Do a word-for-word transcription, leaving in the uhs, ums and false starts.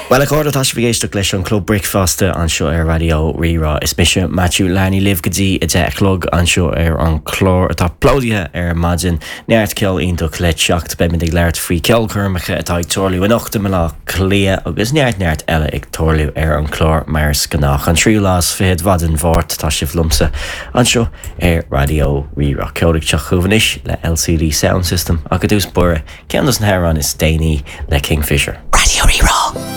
Well a chairde tá sibh ag éisteacht leis an Club Bricfeasta anseo ar Raidió Rí-Rá. Is mise Matthew Larney libh go dtí a deich a chlog anseo ar an chlár atá plódaithe ar maidin neart ceol iontach le teacht beimid ag labhairt faoi ceolchoirmeacha atá ag tarlú anocht i mBaile Átha Cliath agus neart neart eile ag tarlú ar an chlár mar is gnách. An tríú lá is fiche de Mhárta tá sibh liomsa anseo ar Raidió Rí-Rá. Ceol ag teacht chugaibh anois le LCD Sound System ach i dtús báire ceann dos na hamhráin is déanaí le Kingfisher. Raidió Rí-Rá.